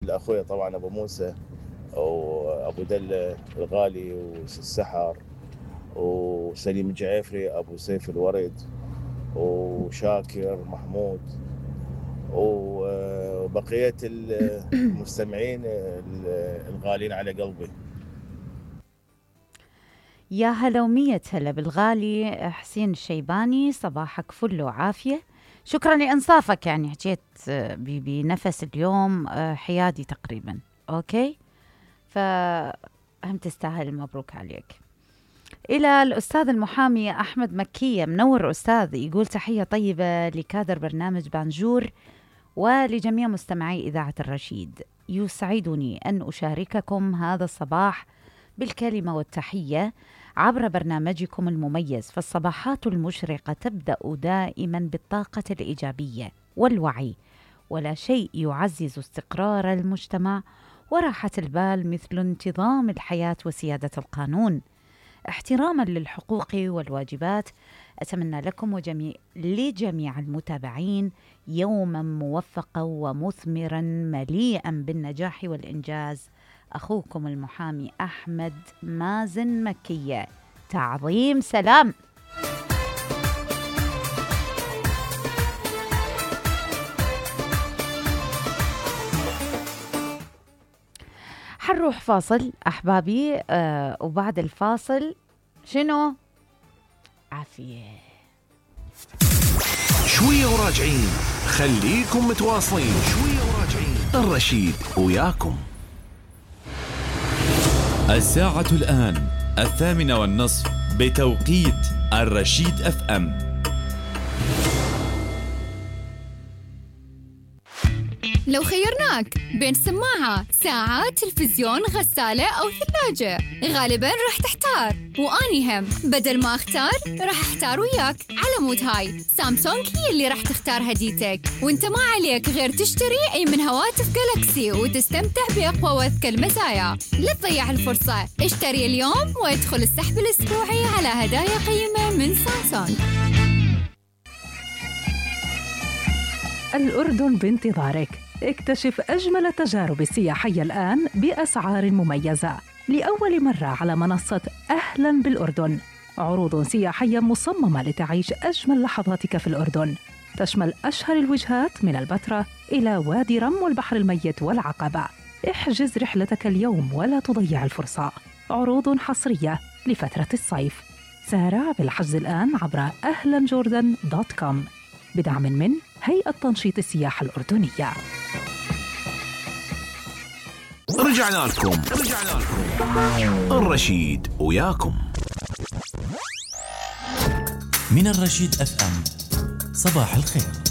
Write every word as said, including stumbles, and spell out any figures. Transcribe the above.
لأخويا طبعا أبو موسى وأبو دلة الغالي والسحر وسليم الجعيفري أبو سيف الورد وشاكر محمود وبقية المستمعين الغالين على قلبي. يا هلا ومية هلا بالغالي حسين الشيباني، صباحك فل وعافية. شكرا لإنصافك، يعني حكيت بنفس اليوم حيادي تقريبا. أوكي، فهم تستاهل، مبروك عليك. إلى الأستاذ المحامي أحمد مكية، منور أستاذ، يقول تحية طيبة لكادر برنامج بانجور ولجميع مستمعي إذاعة الرشيد. يسعدني أن أشارككم هذا الصباح بالكلمة والتحية عبر برنامجكم المميز، فالصباحات المشرقة تبدأ دائما بالطاقة الإيجابية والوعي، ولا شيء يعزز استقرار المجتمع وراحة البال مثل انتظام الحياة وسيادة القانون. احتراما للحقوق والواجبات، أتمنى لكم وجميع لجميع المتابعين يوما موفقا ومثمرا مليئا بالنجاح والإنجاز. أخوكم المحامي أحمد مازن مكية. تعظيم سلام. حنروح فاصل أحبابي، آه وبعد الفاصل شنو؟ عافية شوية وراجعين، خليكم متواصلين. شوية وراجعين، الرشيد وياكم. الساعة الآن الثامنة والنصف بتوقيت الرشيد اف ام. لو خيرناك بين سماعة، ساعة، تلفزيون، غسالة أو ثلاجة، غالباً راح تحتار، وأني هم بدل ما أختار راح أحتار وياك. على مود هاي سامسونج هي اللي راح تختار هديتك، وانت ما عليك غير تشتري أي من هواتف جالاكسي وتستمتع بأقوى وأذكى المزايا. لا تضيع الفرصة، اشتري اليوم وادخل السحب الأسبوعي على هدايا قيمة من سامسونج. الأردن بانتظارك. اكتشف أجمل التجارب السياحية الآن بأسعار مميزة لأول مرة على منصة أهلاً بالأردن. عروض سياحية مصممة لتعيش أجمل لحظاتك في الأردن، تشمل أشهر الوجهات من البتراء إلى وادي رم والبحر الميت والعقبة. احجز رحلتك اليوم ولا تضيع الفرصة. عروض حصرية لفترة الصيف. سارع بالحجز الآن عبر أهلاً جوردن دوت كوم بدعم من هيئة تنشيط السياحة الأردنية. رجعنا لكم رجعنا لكم الرشيد وياكم. من الرشيد اف ام، صباح الخير.